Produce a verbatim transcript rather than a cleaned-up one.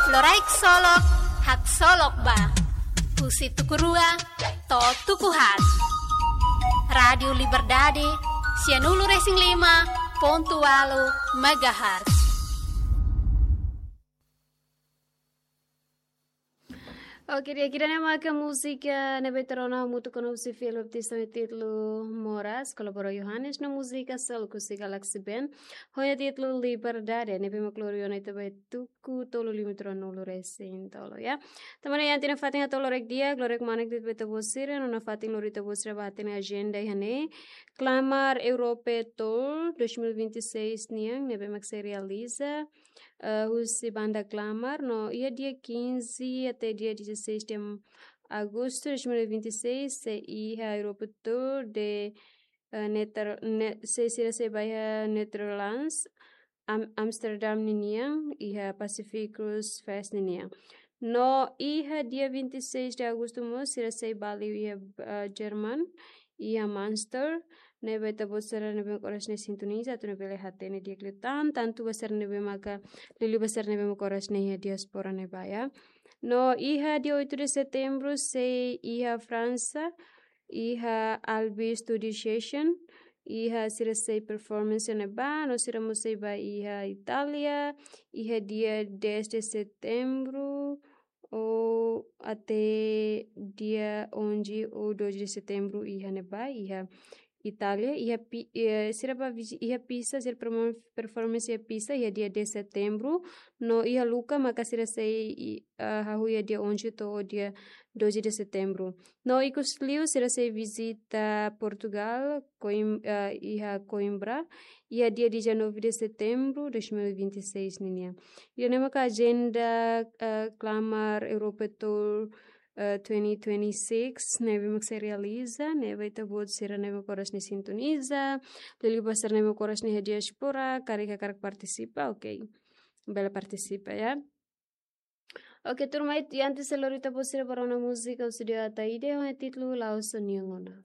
Loraik solok, haksolok ba. Husi tuku rua to'o tuku haat. Rádiu Liberdade, sianulu-resin-lima pontu ualu megahertz. Oke, di'ak, ida-ne'e maka múzika ne'ebé ita rona hamutuk ho Nobsi Filipe, títulu Moras, kolabora Yohanes, no múzika seluk husi Galaxy Band, ho nia títulu Liberdade, ne'ebé mak lori ona ita ba tuku tolu limítroa nulu-resin-tolu, ya. Tanba ne'e iha ita-nia fatin hato'o loraik di'ak, loraik manek de'it ba ita-boot sira, no nafatin lori ita-boot sira ba hatene ajenda iha ne'e. Klamar Europe Tour dois mil e vinte e seis nian, ne'ebé mak sei realiza, eh, husi banda Klamar, no iha dia quinze até dia dezasseis de agosto de dois mil e vinte e seis, sei iha Europe Tour de, eh, Neter-, ne-, sei sira sei ba iha Netherlands, Am-, Amsterdam ninian, iha Pacific Cruise Fest ninian. No iha dia vinte e seis de agosto mós, sira sei ba liu iha, eh, Jerman, iha Münster, ne'ebé ita-boot sira ne'ebé mak oras ne'e sintoniza, atu nune'e bele hatene di'ak liután, tantu ba sira ne'ebé maka, liuliu ba sira ne'ebé mak oras ne'e iha diáspora ne'ebá, ya. No iha dia oito de setembro, sei iha Fransa, iha Albi Studio Session, iha sira sei performance ne'ebá, no sira mós sei ba iha Itália, iha dia dez de setembro, ou até dia onze ou doze de setembro iha ne'ebá, iha Itália, iha Pi-, eh, sira ba visi-, iha Pisa, sira perform-, performance iha Pisa, iha dia dez setembro, no iha Lucca, maka sira sei i-, ah, hahú iha dia onze to'o dia doze de setembro. No ikusliu sira sei vizita Portugal, Coim-, ah, iha Coimbra, iha dia dezanove de setembro de dois mil e vinte e seis ninian. Ida-ne'e maka ajenda, ah, Klamar Europe Tour, eh, twenty twenty-six, ne'ebé mak sei realiza, ne'ebé ita-boot sira ne'ebé mak oras ne'e sintoniza, liuliu ba sira ne'ebé mak oras ne'e iha diáspora, karik hakarak partisipa, oke. Bele partisipa, ya. Oke, turma, i antes sei lori ita-boot sira ba rona múzika husi Deo Ataide, ho títulu La'ós Ó-nia Ona.